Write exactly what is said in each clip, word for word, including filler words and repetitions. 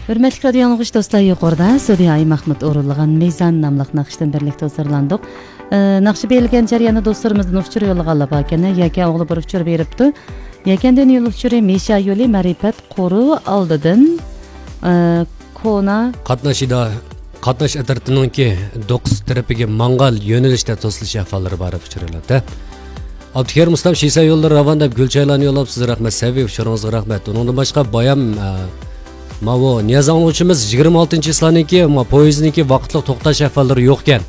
ھۆرمەتلىك رادىيو ئاڭلىغۇچى دوستلار، يۇقىرىدا سۈدىيە ئايمەھمۇت ئورۇنلىغان مىزان ناملىق ناخشىدىن بىرلىكتە ھۇزۇرلاندۇق. ئە، ناخشا بېرىلگەن جەرياندا دوستلىرىمىزدىن ئۇچۇر يوللىغانلار باركەن، يەكەن ئوغلى بىر ئۇچۇر بېرىپتۇ. يەكەندىن يول ئۇچۇرى مىشا يولى، مەرىپەت قورۇ ئالدىدىن، ئە، كونا. قاتناش ئىدا-، قاتناش ئەترىتىنىڭكى دوقۇز تەرىپىگە ماڭغان يۆنىلىشتە توسۇلۇش ئەھۋاللىرى بار دەپ ئۇچۇر يوللاپتۇ. ئابدۇكېرىم ئۇستام شىسا يوللىرى راۋان دەپ گۈل چايلارنى يوللاپسىز، رەھمەت. سەۋىي ئۇچۇرىڭىزغا رەھمەت. ئۇنىڭدىن باشقا بايام، ئە، ماۋۇ نىياز ئاڭلىغۇچىمىز يىگىرمە ئالتىنچى چىسلانىڭكى، ما، پويىزنىڭكى ۋاقىتلىق توختاش ئەھۋاللىرى يوقكەن.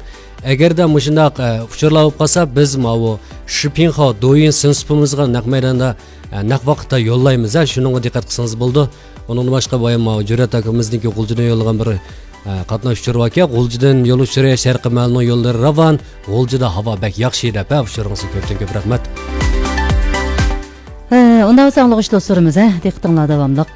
ئەگەردە مۇشۇنداق، ئە، ئۇچۇرلار بولۇپ قالسا، بىز ماۋۇ شىپىڭخاۋ دويىن سىنسىپىمىزغا نەق مەيداندا، ئە، نەق ۋاقىتتا يوللايمىز، ھە، شۇنىڭغا دىققەت قىلسىڭىز بولىدۇ. ئۇنىڭدىن باشقا بايام ماۋۇ جۈرئەت ئاكىمىزنىڭكى غۇلجىدىن يوللىغان بىر، ئە، قاتناش ئۇچۇرى باركەن. غۇلجىدىن يول ئۇچۇرى شەرقىي مەھەللىنىڭ يوللىرى راۋان، غۇلجىدا ھاۋا بەك ياخشى دەپ، ھە، ئۇچۇرىڭىزغا كۆپتىن كۆپ رەھمەت. ھە، ئۇنداق بولسا ئاڭلىغۇچى دوستلىرىمىز، ھە، دىققىتىڭلار داۋاملىق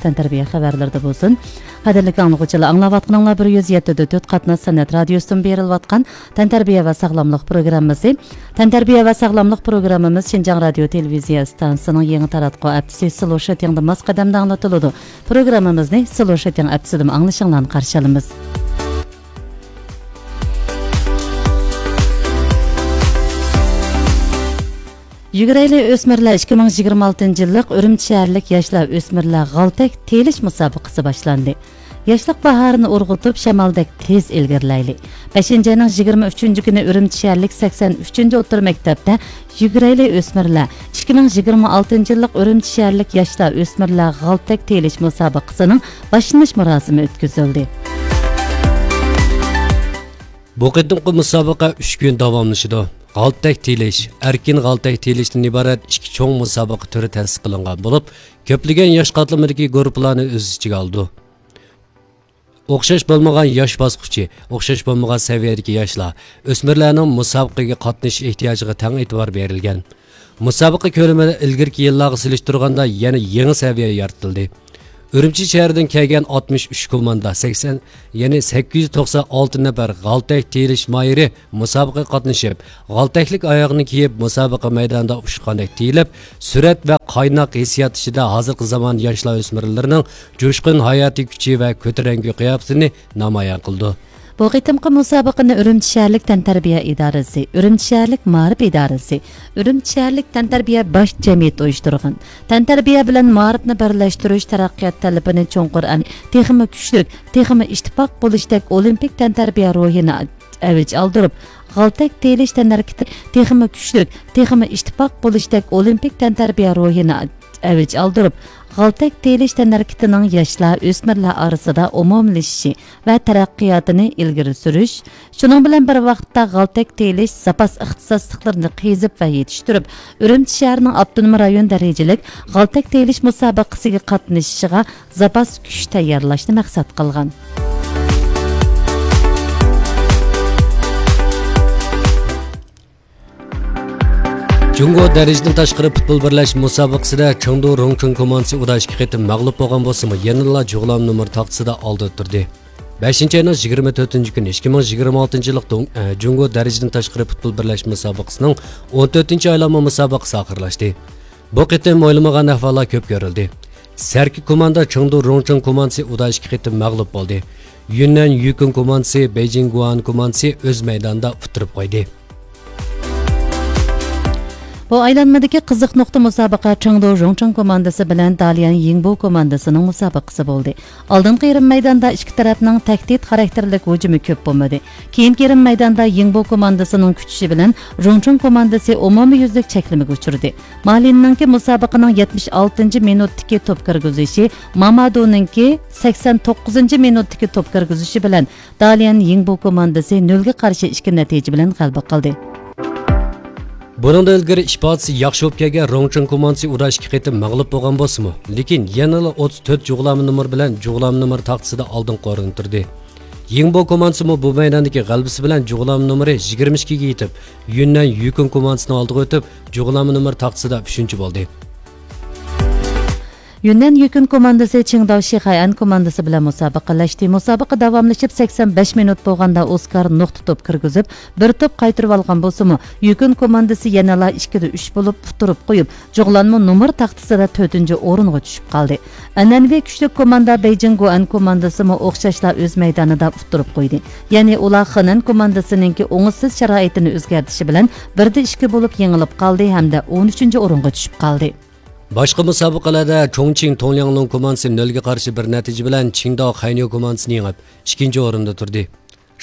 تەنتەربىيە خەۋەرلىرىدە بولسۇن. قەدىرلىك ئاڭلىغۇچىلار، ئاڭلاۋاتقىنىڭلار بىر يۈز يەتتە تۆت قاتناش سەنئەت رادىيوسىدىن بېرىلىۋاتقان تەنتەربىيە ۋە ساغلاملىق پروگراممىسى. تەنتەربىيە ۋە ساغلاملىق پروگراممىمىز شىنجاڭ رادىيو تېلېۋىزىيە ئىستانسىسىنىڭ يېڭى تاراتقۇ ئەپچىسى سلو شىتىڭدا ماس قەدەمدە ئاڭلىتىلىدۇ. پروگراممىمىزنى سلو شىتىڭ ئەپچىسىدىمۇ ئاڭلىشىڭلارنى قارشى ئالىمىز. يۈگۈرەيلى ئۆسمۈرلەر ئىككى مىڭ يىگىرمە ئالتىنچى يىللىق ئۈرۈمچى شەھەرلىك ياشلار ئۆسمۈرلەر غالتەك تېيىلىش مۇسابىقىسى باشلاندى. ياشلىق باھارىنى ئۇرغۇتۇپ، شامالدەك تېز ئىلگىرىلەيلى. بەشىنچى ئاينىڭ يىگىرمە ئۈچىنچى كۈنى ئۈرۈمچى شەھەرلىك سەكسەن ئۈچىنچى ئوتتۇرا مەكتەپتە يۈگۈرەيلى ئۆسمۈرلەر ئىككى مىڭ يىگىرمە ئالتىنچى يىللىق ئۈرۈمچى شەھەرلىك ياشلار ئۆسمۈرلەر غالتەك تېيىلىش مۇسابىقىسىنىڭ باشلىنىش مۇراسىمى ئۆتكۈزۈلدى. بۇ قېتىمقى مۇسابىقە ئۈچ كۈن داۋاملىشىدۇ. غالتەك تېيىلىش، ئەركىن غالتەك تېيىلىشتىن ئىبارەت ئىككى چوڭ مۇسابىقە تۈرى تەسىس قىلىنغان بولۇپ، كۆپلىگەن ياش قاتلىمىدىكى گۇرۇپپىلارنى ئۆز ئىچىگە ئالىدۇ. ئوخشاش بولمىغان ياش باسقۇچى، ئوخشاش بولمىغان سەۋىيەدىكى ياشلار، ئۆسمۈرلەرنىڭ مۇسابىقىگە قاتنىشىش ئېھتىياجىغا تەڭ ئېتىبار بېرىلگەن. مۇسابىقە كۆلىمىدە ئىلگىرىكى يىللارغا سېلىشتۇرغاندا يەنە يېڭى سەۋىيە يارىتىلدى. ئۈرۈمچى شەھىرىدىن كەلگەن ئاتمىش ئۈچ كوماندا، سەكسەن، يەنى سەككىز يۈز توقسان ئالتە نەپەر غالتەك تېيىلىش ماھىرى مۇسابىقىگە قاتنىشىپ، غالتەكلىك ئاياغنى كىيىپ، مۇسابىقە مەيدانىدا ئۇچقاندەك تېيىلىپ، سۈرئەت ۋە قايناق ھېسسىيات ئىچىدە ھازىرقى زامان ياشلار ئۆسمۈرلىرىنىڭ جۇشقۇن ھاياتىي كۈچى ۋە كۆتۈرەڭگۈ قىياپىتىنى نامايان قىلىدۇ. بۇ قېتىمقى مۇسابىقىنى ئۈرۈمچى شەھەرلىك تەنتەربىيە ئىدارىسى، ئۈرۈمچى شەھەرلىك مائارىپ ئىدارىسى، ئۈرۈمچى شەھەرلىك تەنتەربىيە باش جەمئىيىتى ئۇيۇشتۇرغان. تەنتەربىيە بىلەن مائارىپنى بىرلەشتۈرۈش، تەرەققىيات تەلىپىنى چوڭقۇر ئەن-، تېخىمۇ كۈچلۈك، تېخىمۇ ئىتتىپاق بولۇشتەك ئولىمپىك تەنتەربىيە روھىنى ئەۋج ئالدۇرۇپ، غالتەك تېيىلىش تەنھەرىكىتى تېخىمۇ كۈچلۈك، تېخىمۇ ئىتتىپاق بولۇشتەك ئولىمپىك تەنتەربىيە روھىنى ئەۋج ئالدۇرۇپ، غالتەك تېيىلىش تەنھەرىكىتىنىڭ ياشلار، ئۆسمۈرلەر ئارىسىدا ئومۇملىشىشى ۋە تەرەققىياتىنى ئىلگىرى سۈرۈش، شۇنىڭ بىلەن بىر ۋاقىتتا غالتەك تېيىلىش زاپاس ئىختىساسلىقلىرىنى قېزىپ ۋە يېتىشتۈرۈپ، ئۈرۈمچى شەھىرىنىڭ ئاپتونوم رايون دەرىجىلىك غالتەك تېيىلىش مۇسابىقىسىگە قاتنىشىشىغا زاپاس كۈچ تەييارلاشنى مەقسەت قىلغان. جۇڭگو دەرىجىدىن تاشقىرى پۇتبول بىرلەشمە مۇسابىقىسىدە چېڭدۇ روڭچېڭ كوماندىسى ئۇدا ئىككى قېتىم مەغلۇپ بولغان بولسىمۇ، يەنىلا جۇغلام نومۇر تاختىسىدا ئالدىدا تۇردى. بەشىنچى ئاينىڭ يىگىرمە تۆتىنچى كۈنى، ئىككى مىڭ يىگىرمە ئالتىنچى يىللىق دوڭ-، ئە، جۇڭگو دەرىجىدىن تاشقىرى پۇتبول بىرلەشمە مۇسابىقىسىنىڭ ئون تۆتىنچى ئايلانما مۇسابىقىسى ئاخىرلاشتى. بۇ قېتىم ئويلىمىغان ئەھۋاللار كۆپ كۆرۈلدى. سەركە كوماندا چېڭدۇ روڭچېڭ كوماندىسى ئۇدا ئىككى قېتىم مەغلۇپ بولدى. يۈننەن يۈكۈن كوماندىسى، بېيجىڭ گۇئان كوماندىسى ئۆز مەيدانىدا ئۇتتۇرۇپ قويدى. بۇ ئايلانمىدىكى قىزىق نۇقتا مۇسابىقە چېڭدۇ روڭچېڭ كوماندىسى بىلەن داليەن يىڭبۇ كوماندىسىنىڭ مۇسابىقىسى بولدى. ئالدىنقى يېرىم مەيداندا ئىككى تەرەپنىڭ تەھدىت خاراكتېرلىك ھۇجۇمى كۆپ بولمىدى. كېيىنكى يېرىم مەيداندا يىڭبۇ كوماندىسىنىڭ كۈچىشى بىلەن روڭچېڭ كوماندىسى ئومۇميۈزلۈك چەكلىمىگە ئۇچرىدى. مالىننىڭكى مۇسابىقىنىڭ يەتمىش ئالتىنچى مىنۇتتىكى توپ كىرگۈزۈشى، مامادۇنىڭكى سەكسەن توققۇزىنچى مىنۇتتىكى توپ كىرگۈزۈشى بىلەن داليەن يىڭبۇ كوماندىسى نۆلگە قارشى ئىككى نەتىجە بىلەن غەلىبە قىلدى. بۇنىڭدىن ئىلگىرى ئىپادىسى ياخشى بولۇپ كەلگەن روڭچېڭ كوماندىسى ئۇدا ئىككى قېتىم مەغلۇپ بولغان بولسىمۇ، لېكىن يەنىلا ئوتتۇز تۆت جۇغلانما نومۇر بىلەن جۇغلانما نومۇر تاختىسىدا ئالدىنقى ئورۇندا تۇردى. يىڭبو كوماندىسىمۇ بۇ مەيداندىكى غەلىبىسى بىلەن جۇغلانما نومۇرى يىگىرمە ئىككىگە يېتىپ، يۈننەن يۈكۈن كوماندىسىنىڭ ئالدىغا ئۆتۈپ، جۇغلانما نومۇر تاختىسىدا ئۈچىنچى بولدى. يۈننەن يۈكۈن كوماندىسى چىڭداۋ شىخەيئەن كوماندىسى بىلەن مۇسابىقىلەشتى. مۇسابىقە داۋاملىشىپ سەكسەن بەش مىنۇت بولغاندا ئوسكار نۇقتا توپ كىرگۈزۈپ، بىر توپ قايتۇرۇۋالغان بولسىمۇ، يۈكۈن كوماندىسى يەنىلا ئىككىدە ئۈچ بولۇپ ئۇتتۇرۇپ قويۇپ، جۇغلانمۇ نومۇر تاختىسىدا تۆتىنچى ئورۇنغا چۈشۈپ قالدى. ئەنئەنىۋى كۈچلۈك كوماندا بېيجىڭ گوئەن كوماندىسىمۇ ئوخشاشلا ئۆز مەيدانىدا ئۇتتۇرۇپ قويدى. يەنى ئۇلار خېنەن كوماندىسىنىڭكى ئوڭۇشسىز شارائىتىنى ئۆزگەرتىشى بىلەن بىردە ئىككى بولۇپ يېڭىلىپ قالدى ھەمدە ئون ئۈچىنچى ئورۇنغا چۈشۈپ قالدى. باشقا مۇسابىقىلەردە چۇڭچىڭ تۇڭلياڭلۇڭ كوماندىسى نۆلگە قارشى بىر نەتىجە بىلەن چىڭداۋ خەنيو كوماندىسىنى يېڭىپ، ئىككىنچى ئورۇندا تۇردى.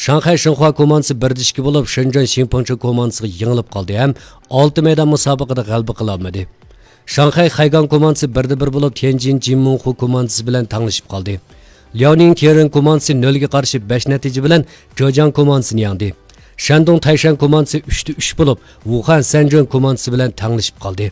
شاڭخەي شىنخۇا كوماندىسى بىردە ئىككى بولۇپ، شېنجېن شىنپىڭچې كوماندىسىغا يېڭىلىپ قالدى ھەم ئالتە مەيدان مۇسابىقىدە غەلىبە قىلالمىدى. شاڭخەي خەيگاڭ كوماندىسى بىردە بىر بولۇپ، تيەنجىن جىنمىڭخۇ كوماندىسى بىلەن تەڭلىشىپ قالدى. لياۋنىڭ تيېرېن كوماندىسى نۆلگە قارشى بەش نەتىجە بىلەن جېجياڭ كوماندىسىنى يەڭدى. شەندۇڭ تەيشەن كوماندىسى ئۈچتە ئۈچ بولۇپ، ۋۇخەن سەنجۈەن كوماندىسى بىلەن تەڭلىشىپ قالدى.